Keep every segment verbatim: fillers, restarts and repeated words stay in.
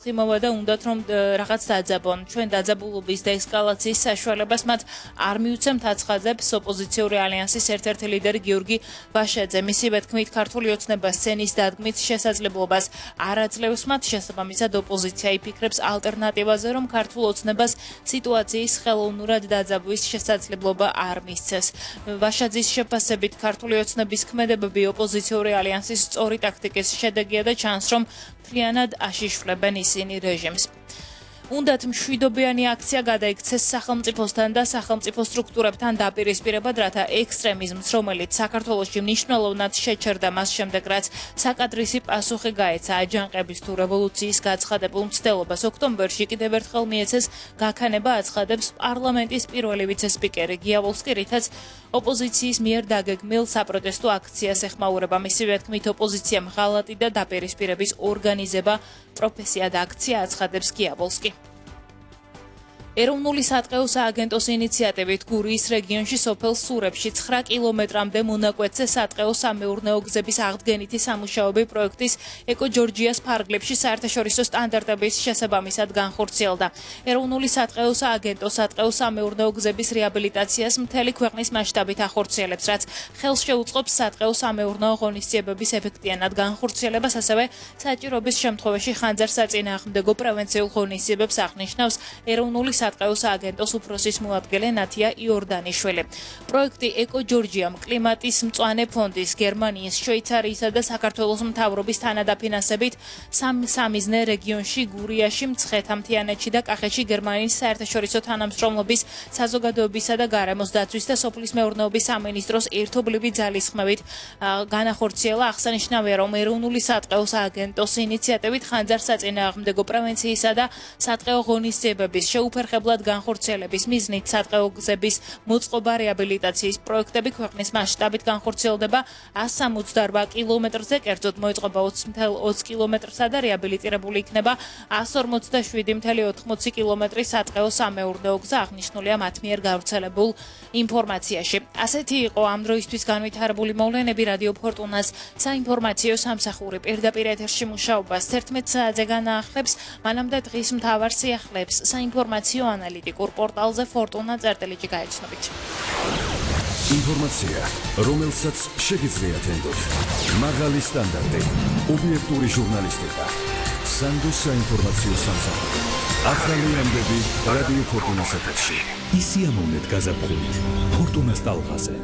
იმავა და უნდათ რომ რაღაც დაძაბონ ჩვენ დაძაბულობის და ესკალაციის საშუალებას მათ არ მიუცემთ აცხადებს ოპოზიციური ალიანსის ერთ-ერთი ლიდერი გიორგი ვაშაძე მისივე თქმით ქართული ოცნება სცენის დადგმით შესაძლებლობას არ აძლევს მათ შესაბამისად ოპოზიცია იფიქრებს ალტერნატივაზე რომ ქართულ ოცნებას სიტუაციის ხელოვნურად დაძაბვის შესაძლებლობა არ მისცეს ვაშაძის შეფასებით ქართული ოცნების ქმედებები ოპოზიციური ალიანსის სწორი ტაქტიკის შედეგია და ჩანს რომ მთლიანად აშიშვლებენ ისინი რეჟიმს. უნდათ მშვიდობიანი აქცია გადაიქცეს სახელმწიფოსთან და სახელმწიფო სტრუქტურებთან დაპირისპირებად, რათა ექსტრემიზმს, რომელიც საქართველოში მნიშვნელოვნად შეჩერდა მას შემდეგ, რაც საკადრისი პასუხი გაეცა აჯანყების თუ რევოლუციის გაცხადებულ მცდელობას, ოქტომბერში კიდევ ერთხელ მიეცეს გაქანება აცხადებს პარლამენტის პირველი ვიცე-სპიკერი გია ვოლსკი, რითაც ოპოზიციის მიერ დაგეგმილ საპროტესტო აქციას ეხმაურება. მისივე თქმით, ოპოზიციამ ღალატი და დაპირისპირების ორგანიზება პროფესია და აქცია აცხადებს გია ვოლსკი. ეროვნული სატყეო სააგენტოს ინიციატივით გურიის რეგიონში სოფელ სურებში ცხრა კილომეტრამდე მონაკვეთზე სატყეო სამეურნეო გზების აღდგენითი სამუშაოები პროექტის ეკო ჯორჯიას ფარგლებში საერთაშორისო სტანდარტების შესაბამისად განხორციელდა. ეროვნული სატყეო სააგენტო სატყეო სამეურნეო გზების რეაბილიტაციას მთელი ქვეყნის მასშტაბით ახორციელებს, რაც ხელს შეუწყობს სატყეო სამეურნეო ღონისძიებების ეფექტიანად განხორციელებას, ასევე საჭიროების შემთხვევაში ხანძარსაწინააღმდეგო პრევენციულ ღონისძიებებს აღნიშნავს ეროვნული სატყეო სააგენტოს უფროსის მოადგილე ნათია იორდანიშვილი. პროექტი ეკო ჯორჯიამ კლიმატის მწვანე ფონდის, გერმანიის, შვეიცარიისა და საქართველოს მთავრობის თანადაფინანსებით სამიზნე რეგიონში გურიაში, მცხეთა-მთიანეთში და კახეთში გერმანიის საერთაშორისო თანამშრომლობის საზოგადოებისა და გარემოს დაცვის და სოფლის მეურნეობის სამინისტროს ერთობლივი ძალისხმევით განახორციელა. აღსანიშნავია, რომ ეროვნული სატყეო სააგენტოს ინიციატივით ხანძარსაწინააღმდეგო პრევენციისა და სატყეო ღონისძიებების შეუფერხებლად განხორციელების მიზნით სატყეო გზების მოწყობა რეაბილიტაციის პროექტები ქვეყნის მასშტაბით განხორციელდება ას სამოცდაორბა კილომეტრზე, კერძოდ მოეწყობა ოცი კილომეტრსა და რეაბილიტირებული იქნება ას ორმოცდაშვიდი კoma ოთხმოცი კილომეტრი სატყეო სამეურნეო გზა, აღნიშნულია მათ მიერ გავრცელებულ ინფორმაციაში. ასეთი იყო ამ დროისთვის განვითარებული მოვლენები. რადიო ფორტუნას საინფორმაციო სამსახური პირდაპირ ეთერში მუშაობას თერთმეტ საათზე განაახლებს, მანამდე დღის მთავარ სიახლეებს საინფორმაციო ანალიტიკურ პორტალზე ფორტუნა წერტილიჯი გაეცნობით. ინფორმაცია, რომელსაც შეგიძლიათ ენდოთ. მაღალი სტანდარტი, ობიექტური ჟურნალისტიკა. სანდოს საინფორმაციო სამსახური. ახალი ამბები რადიო ფორტუნას ეთერში. ისიამოვნეთ გაზაფხულით ფორტუნას ტალღაზე.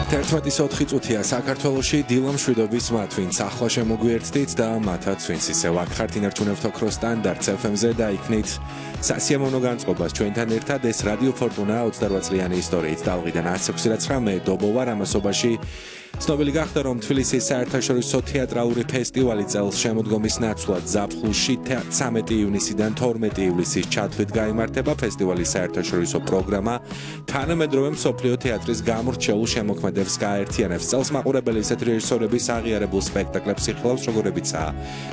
თერთმეტი ოთხი წუთია საქართველოში დილა მშვიდობის მათ, ვინც ახლა შემოგვიერთდით და მათაც ვინც ისევ აქ ხართ ინარჩუნებთ ოქროს სტანდარტს ეფ ემ-ზე და იქნით სასიამოვნო განწყობას ჩვენთან ერთად. ეს რადიო ფორტუნა ოცდაორბა წლიანი ისტორიით ტალღიდან ათს ოცდათხმეტ დობოვარ ამასობაში ცნობილი გახდა, რომ თბილისის საერთაშორისო თეატრალური ფესტივალი წელს შემოდგომის ნაცვლად ზაფხულში ცამეტი ივნისიდან თორმეტი ივლისის ჩათვლით გაიმართება. ფესტივალის საერთაშორისო პროგრამა თანამედროვე მსოფლიო თეატრის გამორჩეულ შემოქმედებს გააერთიანებს. წელს მაყურებელი ისეთ რეჟისორების აღიარებულ სპექტაკლებს იხილავს, როგორებიცაა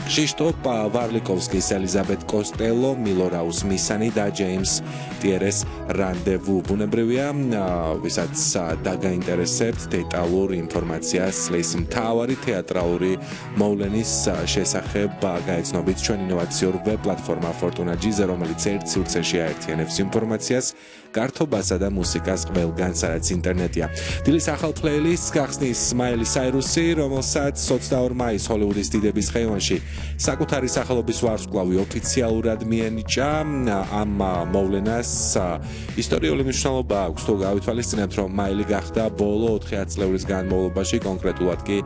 ქრიშტოფ ვარლიკოვსკის ელიზაბეთ კოსტელო, მილორაუს მისანი და ჯეიმს ტიერეს რანდევუ. ბუნებრივია, ვისაც დაგაინტერესებთ დეტალურ ინფორმაციას წლის მთავარი თეატრალური მოვლენის შესახებ გაეცნობით ჩვენ ინოვაციურ ვებ პლატფორმა Fortuna.gz, რომელიც ერთ სივრცეში აერთიანებს ინფორმაციას, გართობასა და მუსიკას ყველგან, სადაც ინტერნეტია. დილის ახალ პლეილისტს გახსნის მაილი საირუსი, რომელსაც ოცდაორ მაისს ჰოლივუდის დიდების ხეივანში საკუთარი სახელობის ვარსკვლავი ოფიციალურად მიენიჭა. ამ მოვლენას ისტორიული მნიშვნელობა აქვს, თუ გავითვალისწინებთ, რომ მაილი გახდა ბოლო ოთხი წლების განმავლობაში, კონკრეტულად კი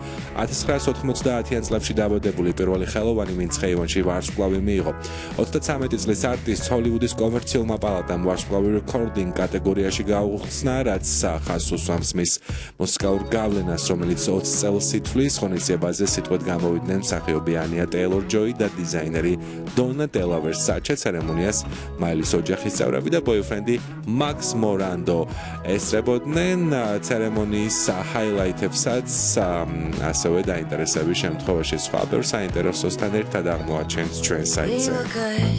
ათას ცხრაასი ოთხმოცდაათიან წლებში დაბადებული პირველი ხელოვანი, ვინც ხეივანში ვარსკვლავი მიიღო. ოცდაცამეტი წლის არტისტს ჰოლივუდის კომერციულმა პალატამ ვარსკვლავი რეკორდინგ კატეგორიაში გაუხსნა, რაც ხაზს უსვამს მის მუსიკალურ გავლენას, რომელიც ოცი წელს ითვლის. ღონისძიებაზე სიტყვით გამოვიდნენ მსახიობი ანია ტეილორ-ჯოი და დიზაინერი დონა დელავერს. საჩე ცერემონიას მაილის ოჯახის წევრები და ბოიფრენდი მაქს მორანდო ესწრებოდნენ. ცერემონიის ჰაილაითებსაც ასევე დაინტერესების შემთხვევაში სხვა ბევრ საინტერესოსთან ერთად აღმოაჩენთ ჩვენ საიტზე.